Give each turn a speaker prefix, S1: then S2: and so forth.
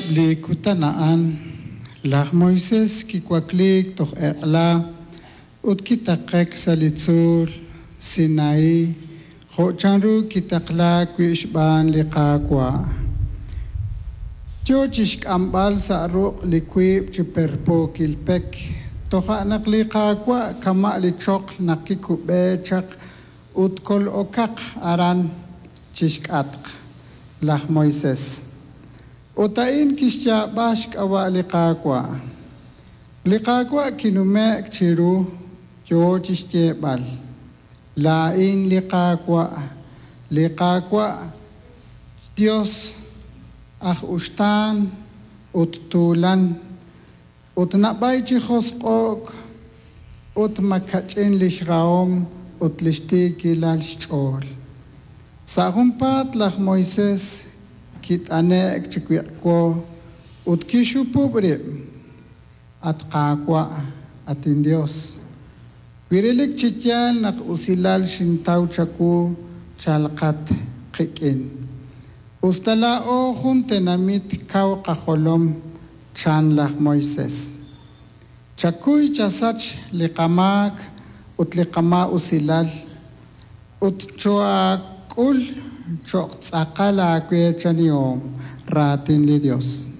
S1: Sa'eb' li kutan a'an, laj Moisés kiwakliik toj eq'la ut kitaqe'k sa' li tzuul Sinaí, jo' chanru kitaqlaak wi' xb'aan li Qaawa'. Yo chi xk'amb'al sa' ruq' li wiib' chi perpookil pek. Toja' naq li Qaawa' kama' li choql naq kikub'e chaq ut kol'okaq aran chi xk'atq laj Moisés. Ut a'in kixyaab'a xk'ab'a' li Qaawa'. Li Qaawa' kinume'k chiru, yo chi xyeeb'al, Laa'in li Qaawa', li Qaawa' xYos aj uxtaan ut tuulan, ut nab'ay chi josq'o'k ut makach'in li xrahom ut li xtiikilal xch'ool. Sa' junpaat laj Moisés kit'ane'k chi wiq'wo ut kixhupub' rib', At Qaawa', at inYos, wi relik chi yaal naq usilal xintaw chawu, chalqat qik'in. Us ta laa'o jun tenamit kaw qajolom, chan laj Moisés. Chakuy chasach li qamaak ut li qamaa'usilal, ut choohaak'ul cho'q tz'aqal aaweechanihom. Raatin li Yos.